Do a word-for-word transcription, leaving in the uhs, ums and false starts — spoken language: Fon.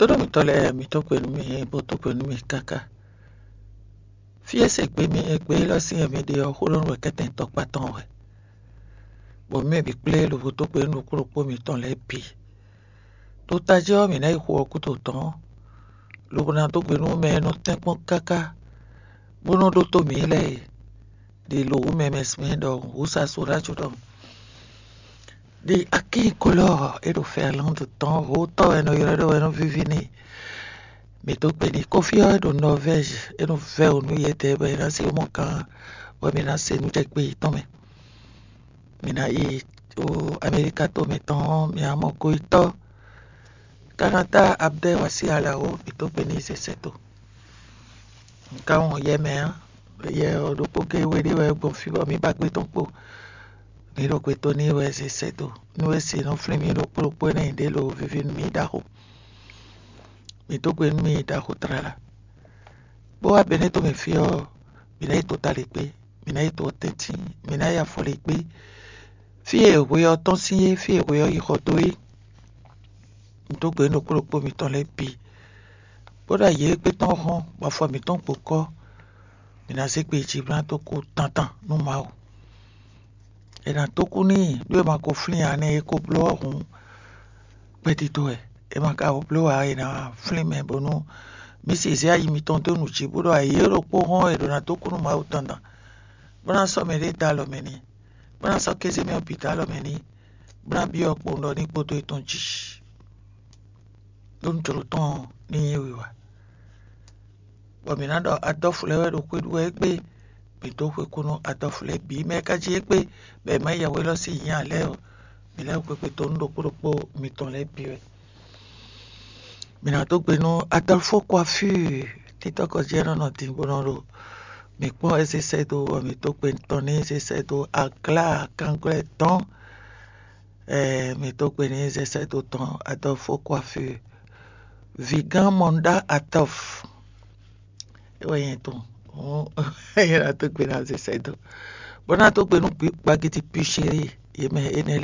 Tónú mitɔn lɛ́ɛ, mi dó gbe nú mì, bo dó gbe nú mì káká. Fí e se gbe mi e gbe élɔ́ sín e mi ɖe ɔ́, xó ɖɔ nú wɛ kɛ́tɛn tɔkpá tɔn wɛ, bɔ mɛ bǐ kplé lobo dó gbe nú ɖokpó ɖokpó mitɔn lɛ́ɛ bǐ. Ɖo tají ɔ́, mǐ ná yi xo ɔ́ gúdo tɔn, lobo ná dó gbe nú mɛ e nɔ tɛ́nkpɔ́n káká, bó nɔ́ ɖótó mǐ lɛ́ɛ e ɖi lo wǔ mɛ mɛ sin ɖɔhun, wǔ sa so ná co ɖɔhun. Ɖi akín kolɔ́ɔ é ɖo Fɛnlɔ́ndu tɔn, hotɔ́ wɛ nɔ ylɔ́ ɖɔ wɛ nɔ víví n'i. Mǐ dó gbe n'i, kɔ́fí ɔ́ é ɖo Nɔvɛ́zi, é nɔ vɛ́ wǔ nú yědɛɛ bɔ è nǎ se mɔ gán, bɔ mǐ ná se nú jɛ gbe yětɔn mɛ. Mǐ ná yi ɖo Amɛlíka to mǐtɔn ɔ́, mǐ ná mɔ goyítɔ́ Kanata Abdɛ́ Wasi Alawo, mǐ dó gbe n'i sɛsɛ to. Un ka wɔn yɛ mɛ ǎ. Yɛ ɔ́ ɖokpó géé we ɖé wɛ gbɔn fí bɔ mǐ ba gbé tɔn kpo. Mǐ ɖo gbe tó n'i wɛ sɛsɛ to. Nú é se nɔ flín mì ɖokpó ɖokpó énɛ́ ɖě lo víví nú mì ɖaxó. Mǐ dó gbe nú mì ɖaxó tlala. Bó wá Benɛ́to mɛ fí ɔ́, mǐ ná yi to Talěkpé, mǐ ná yi to Tɛ́ntín, mǐ ná yi Afɔlíkpé. Fí e hwe ɔ́ tɔ́n sín é, fí e hwe ɔ́ yi xɔ dó é. Un dó gbe nú ɖokpó ɖokpó mitɔn lɛ́ɛ bǐ, bó ɖo ayǐ e gbé tɔn hɔn, bɔ afɔ mǐtɔn gbo kɔ́. Mǐ ná zé gbe jǐblán dó kú tantan nú Mawu. È nǎ tó kú n'i ɖó è ma ko flín ǎ nɛ́, é ko bló ɔ́ hǔn, gbɛdídó wɛ. È ma ka bló ǎ, è nǎ flín mɛ bónú mǐ se zé ayi mitɔn dó nǔ jí, bó ɖo ayǐ e ɖokpó hɔn è ɖǒ ná dó kú nú Mawu dandan, bó ná sɔ́ mɛɖé dó alɔ mɛ n'i, bó ná sɔ́ kéze mɛ ɔ́ bǐ dó alɔ mɛ n'i, bó ná byɔ́ kpowun ɖɔ ní kpódó yětɔn jí, ɖó nǔ jlǒ tɔn ní nyí wiwa. Bɔ mǐ ná ɖɔ Adɔ́fu lɛ́ɛ wɛ ɖo xwé ɖu wɛ égbé. Mǐ dó xwé kú nú Adɔ́fu lɛ́ɛ bǐ, mɛ e ka jí égbé bɔ è má yi yɛhweylɔ́ sín nya lɛ́ɛ ɔ́, mǐ lɛ́ xwé xwé dó nú ɖokpó ɖokpó mitɔn lɛ́ɛ bǐ wɛ. Mǐ ná dó gbe nú Adɔ́fu Kwafíi, títɔ́ kɔjí ɔ́ nɔ nɔ din bó nɔ ɖo mǐ kpɔ́n é zé sɛ́ dó, bɔ mǐ dó gbe tɔn n'i zé sɛ́ dó Aglá kanglɛ́ tɔn. Ɛɛ, mǐ dó gbe n'i zé sɛ́ dó tɔn Adɔ́fu Kwafíi, vǐgán Mɔnda Atɔ́f. É wɛ nyɛ tɔn. Nyɛ ná dó gbe ná zé sɛ́ dó, bó ná dó gbe nú gbagidi Pichéri, yě mɛ énɛ́ lɛ́ɛ